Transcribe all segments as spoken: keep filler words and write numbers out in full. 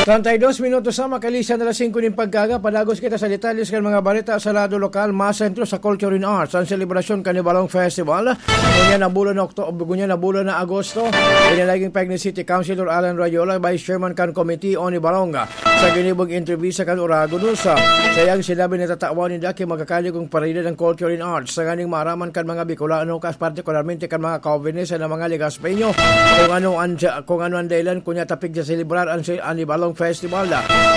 Treinta y dos minutos na, makalisan na alas singko nin pagkaga, padagos kita sa detalles kan mga balita sa lado lokal, masentro sa Culture and Arts, ang selebrasyon kan Ibalong Festival. Ngunyan na bulan na Okto-, ngunyan na bulan na Agosto, ini naging pahayag ni City Councilor Alan Rayola, Vice Chairman kan Committee on Ibalong, sa ginibong entrevista kan Oragon News. Sa iyang sinabi na tatawan ninda ki magkakaligong parida ng Culture and Arts, sa nganing maaraman kan mga Bicolano, kas partikularmente kan mga Calvinist na mga Legaspeño, kung ano ang, kung ano ang dahilan kunya tapig sa selebrar ang, ang Ibalong Festival.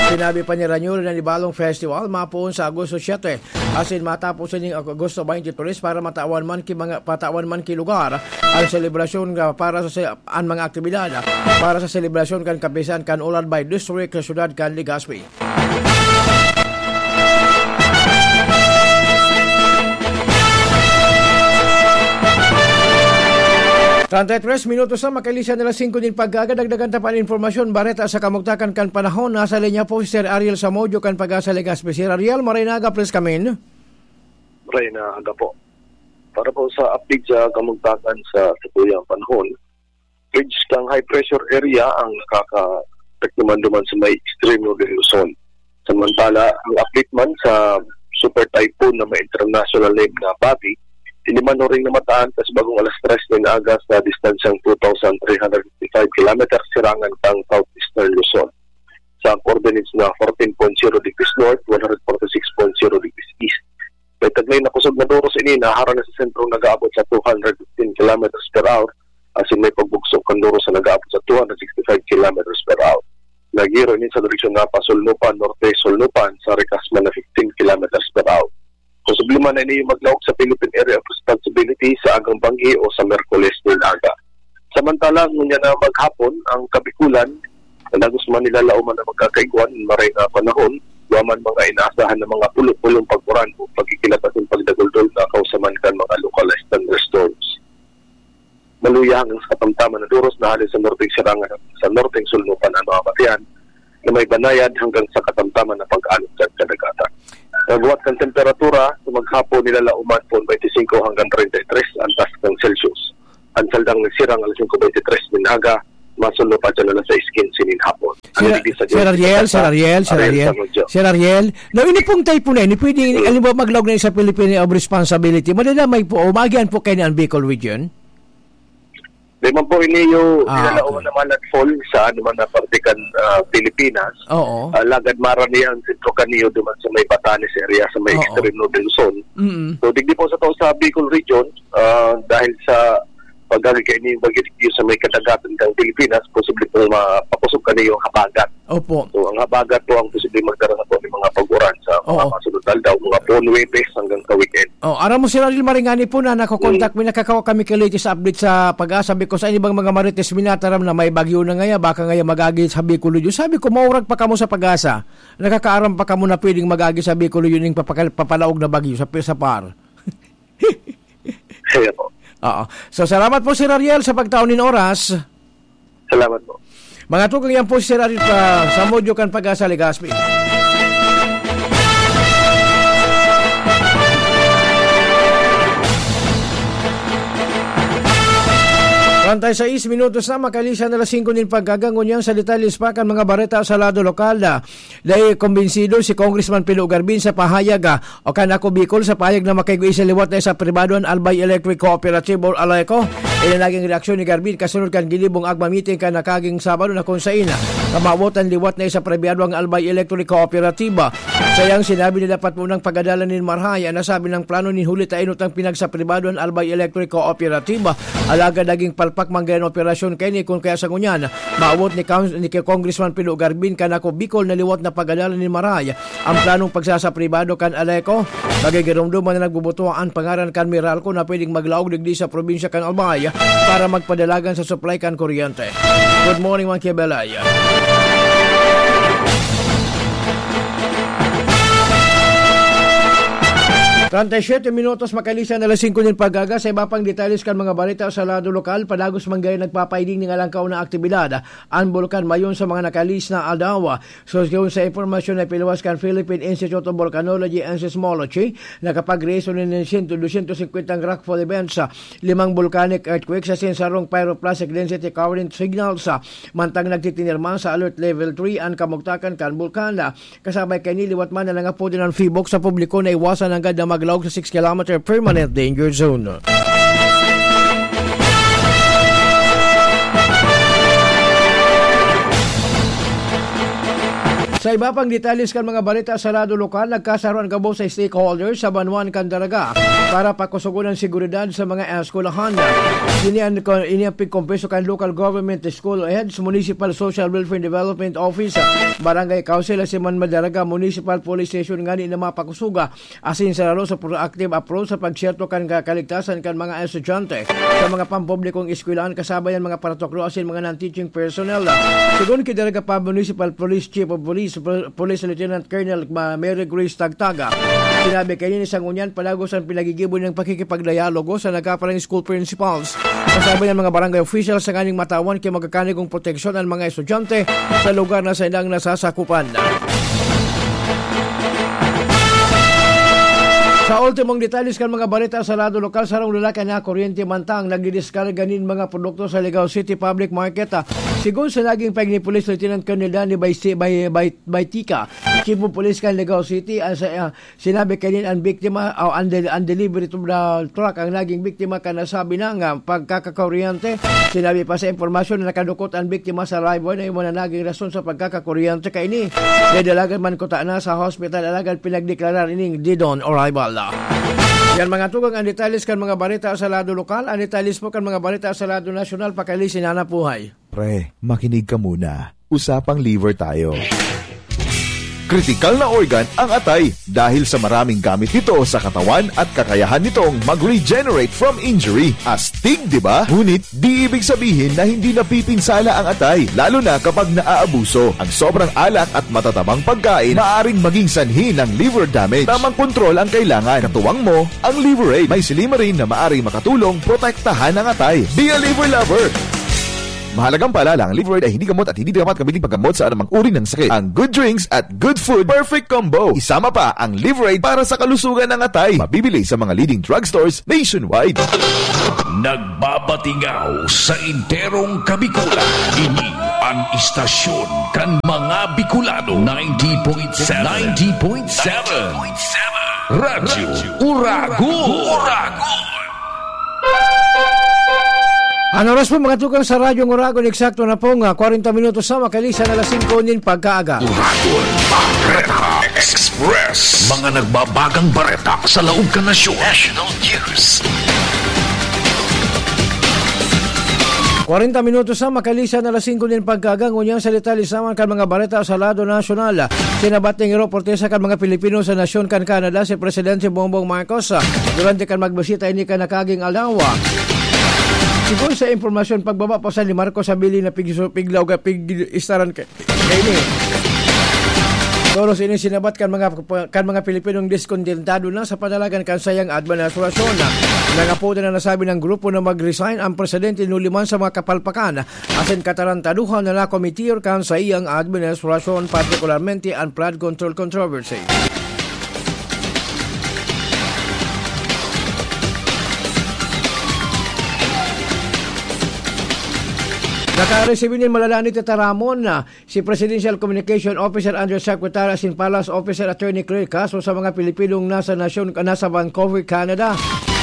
Sinabi pa ni Rayola na Ibalong Festival mapoon sa Agosto siete, asin matapos sa Agosto twenty-three para matawan man ki mga, patawan man ki lugar ang selebrasyon nga para sa se-, ang mga aktibidad para sa selebrasyon kan kapisan kan Ulad by District sa siyudad kan Legazpi. Treinta y tres minutos na, makalisan na alas singko nin pagkaga, dagdagan ta pa an impormasyon, bareta sa kamugtakan kan panahon. Nasa linya po si Sir Ariel Samodio kan Pag-asa Legazpi. Sir Ariel, maray na aga, please come in. Maray na aga po. Para po sa update sa kamugtakan sa satuyang panahon, ridge kang high pressure area ang nakakaapekto man duman sa may ekstremo de Luzon. Samantala, ang update man sa super typhoon na may international name na Babi, ini man huring namataan kas bagong alas tres nin aga sa distansyang two thousand three hundred fifty-five kilometers sirangan kang southeastern Luzon. Sa coordinates na fourteen point zero degrees north, one hundred forty-six point zero degrees east. May taglay na kusog na doros ini na harang na sa sentrong nag-aabot sa two hundred fifteen kilometers per hour, asin may pagbugso kan doros na nag-aabot sa two hundred sixty-five kilometers per hour. Naghiro ini sa direksyon na pasulnupan, norte-sulnupan, sa rikas man na fifteen kilometers per hour. Posible man na ini maglaog sa Philippine Area of Responsibility sa agang banggi o sa Miyerkules nin aga. Samantala, ngunyan na maghapon, ang Kabikulan, padagos man nilalaoman na magkakaigwa nin maray na panahon, duwa man mga inaasahan na mga pulo-pulong pag-uran o pagkikilat asin pagdaguldol na kausaman kan mga localized thunderstorms. Maluya hanggang sa katamtaman na doros na hali sa norteng sirangan, sa norteng sulnupan an mga batian na may banayad hanggang sa katamtaman na pag-alon kan kadagatan. Paghuwat kan temperatura, sa maghapon nilalaoman po twenty-five hanggang treinta y tres ang taas kan Celsius. Ang saldang nagsirang alas singko bente tres nin aga, masunod pa dyan alas sais kinse nin hapon. Ang Sir, digdi sa Sir Ariel, Sir Ariel, Sir Ariel, Ariel, Sir Ariel. Now, ini pong typhoon na ini, pwede, Mm. halimbawa, maglaog na sa Philippine of Responsibility. Madadamay po, o maagihan po kayo ni ang Bicol region? Di man po ini yung Ah, nilalao okay. naman at fall sa ano man na parte kan, ah, Pilipinas. Oo. Ah, lagad mara niya ang sentro kaniyo duman sa may Batanes area, sa may Oo. extreme northern Luzon. Mm. So, digdi po sa tao sa Bicol region, ah, dahil sa pagkakagay ni bagyo sa may kadagatan ng Pilipinas, posible pong mapakusog kaniyo ang habagat. Opo. So, ang habagat po ang posibleng magdara sa po ng mga pag-uran sa mga Oo. masunod na aldaw, mga po Huwebes hanggang sa weekend. Oh, aram mo, Sir Ariel, maray ngani po na nakokontak Mm. mi, nakakawa kami kay latest update sa Pag-asa, because ang ibang mga marites minataram na may bagyo na ngaya, baka ngaya mag-agi sa Bicol Region. Sabi ko, maurag pa kamo sa Pag-asa. Nakakaaram pa kamo na pwedeng mag-agi sa Bicol Region ning papakal-, papalaog na bagyo sa, sa par. Kaya po. Oo. So, salamat po, Sir Ariel, sa pagtaon nin oras. Salamat po. Mga tugang, yan po si Sir Ariel pa sa Modyo kan Pag-asa, Legazpi. Treinta y seis minutos na, makalisan na alas singko nin pagkaga. Ngunyan sa detalles pa kan mga bareta sa lado lokal na dai kumbinsido si Congressman Pilo Garbin sa pahayag, ah, o kan Ako Bicol sa pahayag na makigwa sa liwat na sa pribado an Albay Electric Cooperative or ALECO. Ini naging reaksyon ni Garbin kasunod kan ginibong AGMA meeting kan nakaging Sabado na kung sain, ah, kamawot an liwat na sa pribado ang Albay Electric Cooperative. Sa iyang sinabi na dapat munang pagadalan nin marahay an nasabi ng plano nin huli ta inutang pinagsapribado an Albay Electric Cooperative. Alagad naging palpak man gaya an operasyon kaini kun kaya sa ngunyan, maawot ni Cons-, ni Congressman Pilo Garbin kan Ako Bicol na liwat na pagadalan nin marahay ang planong pagsasapribado kan ALECO. Magigiromdoman na nagbubuto an pangaran kan Meralco na pwedeng maglaog digdi sa probinsya kan Albay para magpadalagan sa supply kan kuryente. Good morning, mga Kiabelay. Treinta y siete minutos makalisan na alas singko nin pag-aga. Sa iba pang detalles kan mga balita sa lado lokal, padagos man gani nagpapaiding nin alangkaw na aktibidad an Bulkan Mayon sa mga nakalis na aldaw. So, sigon sa impormasyon na piluwas kan Philippine Institute of Volcanology and Seismology, nakapag-rehisto nin siyento, dosyentos singkwentang rockfall events, limang volcanic earthquakes asin sarong pyroclastic density current signals, mantang nagtitinirma sa Alert Level three an kamugtakan kan bulkan. Kasabay kaini, liwat man na nangapod an PHIVOLCS sa publiko na iwasan nanggad na maglaog sa six kilometer permanent danger zone. Sa iba pang detalles kan mga balita sa lado lokal, nagkasaro an gabos sa stakeholders sa banwaan kan Daraga para pakusogon an seguridad sa mga eskwelahan. Ini an, ini an pigkumpiso kan local government, school heads, Municipal Social Welfare and Development Office, Barangay Council, asin man Madaraga Municipal Police Station ngani na mapakusoga asin sararo sa proactive approach sa pagserto kan ka-, kaligtasan kan mga estudyante sa mga pampublikong eskwelahan, kasabay an mga paratokro asin mga non-teaching personnel. Sigon ki Daraga Municipal Police Chief of Police, Police Lieutenant Colonel Ma-, Mary Grace Tagtaga, sinabi kaini sa ngunyan, padagos an pinagigibo niyang pakikipagdialogo sa nagkaparang school principals, kasabay an mga barangay officials sa nganing matawan ki magkakanigong proteksyon an mga estudyante sa lugar na saindang nasasakupan. Sa ultimong detalles kan mga balita sa lado lokal, sarong lalaki na kuryente mantang nagdidiskarga nin mga produkto sa Ligao City Public Market. Sigon sa naging pahayag ni Police Lieutenant Colonel Danny Baisi-, Bay-, Bay-, Baytica, Chief of Police kan Ligao City, ah, sa, ah, sinabi kaini an biktima, o an del-, an delivery to the truck ang naging biktima kan nasabi na nga pagkakakuryente. Sinabi pa sa impormasyon na nakadukot an biktima sa live wire na iyan na naging rason sa pagkakakuryente kaini. Didalagan man kutana sa hospital, alagad pinagdeklarar ining dead on arrival. Yan, mga tugang, ang detalles kan mga balita sa lado lokal. Ang detalles po kan mga balita sa lado nasyonal, pakalisin na napuhay. Pre, makinig ka muna. Usapang liver tayo. Kritikal na organ ang atay dahil sa maraming gamit nito sa katawan at kakayahan nitong mag-regenerate from injury. Astig, di ba? Ngunit, di ibig sabihin na hindi napipinsala ang atay, lalo na kapag naaabuso. Ang sobrang alak at matatabang pagkain maaring maging sanhi ng liver damage. Tamang kontrol ang kailangan. Katuwang mo ang Liver Aid. May Silymarin na maaring makatulong protektahan ang atay. Be a liver lover! Mahalagang paalala, ang Liver Aid ay hindi gamot at hindi dapat gamitin paggamot sa anumang uri ng sakit. Ang good drinks at good food, perfect combo. Isama pa ang Liver Aid para sa kalusugan ng atay. Mabibili sa mga leading drugstores nationwide. Nagbabatingaw sa enterong Kabikulan. Ini an istasyon kan mga Bicolano. Ninety point seven. Ninety point seven. Radyo Uragon. Uragon. An oras po, mga tugang, sa Radyo Uragon, eksakto na pong, ah, kwarenta minutos sa makalisan na alas singko nin pagkaaga. Uragon Bareta Express. Mga nagbabagang bareta sa laog kan nasyon. National News. Kwarenta minutos sa makalisan na alas singko nin pagkaaga, ngunyan sa detalye sa mga kan mga bareta sa lado nasyonal. Sinabat nin reportista kan mga Pilipino sa nasyon kan Canada, si Presidente Bongbong Marcos, durante kan magbisita ini kan nakaging aldaw. Sigon sa impormasyon, pagbaba pa sa ni Marcos sa bilin na pig-, piglaw ka pig-, istaran ka-, kaini. Tolos ini sinabat kan mga, kan mga Pilipinong diskontentado na sa panalagan kan sayang administrasyon. Nangapoda na nasabi ng grupo na mag-resign ang presidente nuliman sa mga kapalpakan asin katarantaduhan na nakomitir kan saiyang administrasyon, partikularmente an flood control controversy. Nakaresibi nin malalanit na taramon na si Presidential Communication Officer Undersecretary asin Palace Officer Attorney Claire Castro sa mga Pilipinong nasa nasyon, nasa Vancouver, Canada.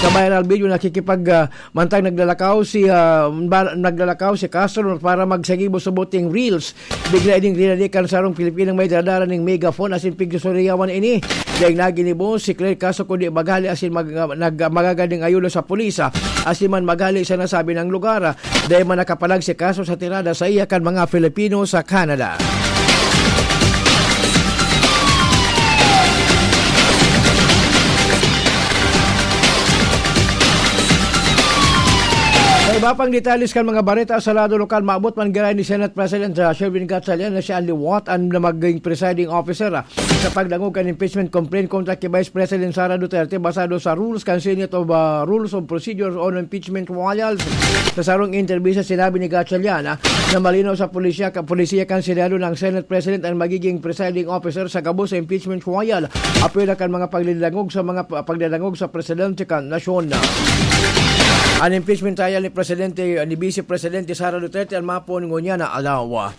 Sa viral video, nakikipag, ah, mantang naglalakaw si, ah, ba-, naglalakaw si Castro para magsagibo sa boting reels. Bigla ining rinadikan sarong Pilipinong may daradara ning megaphone asin pigsusuriyawan ini. Dai naginibo si Claire Castro kundi maghali asin mag-, nag-, magagading ayuda sa pulis, ah, asin man maghali sa nasabing lugar. Dai man nakapalag si Castro sa tirada saiya kan mga Filipino sa Canada. Sa Iba pang detalles kan mga bareta sa lado lokal, maabot man giraray ni Senate President, ah, Sherwin Gatchalian na siya an liwat an na maging presiding officer, ah, sa pagdangog kan impeachment complaint kontra ki Vice President Sara Duterte basado sa rules kan Senate of, ah, Rules of Procedure on Impeachment Trials. Sa sarong interbista, sinabi ni Gatchalian, ah, na malinaw sa pulisya, ka, polisiya kan Senado na ang Senate President ang magiging presiding officer sa gabos sa impeachment trial. Apela kan mga pagdadangog sa mga pa-, pagdadangog sa presidente kan nasyon. An impeachment trial ni Presidente, ni Vice Presidente Sara Duterte an mapon ngunyan na adlaw.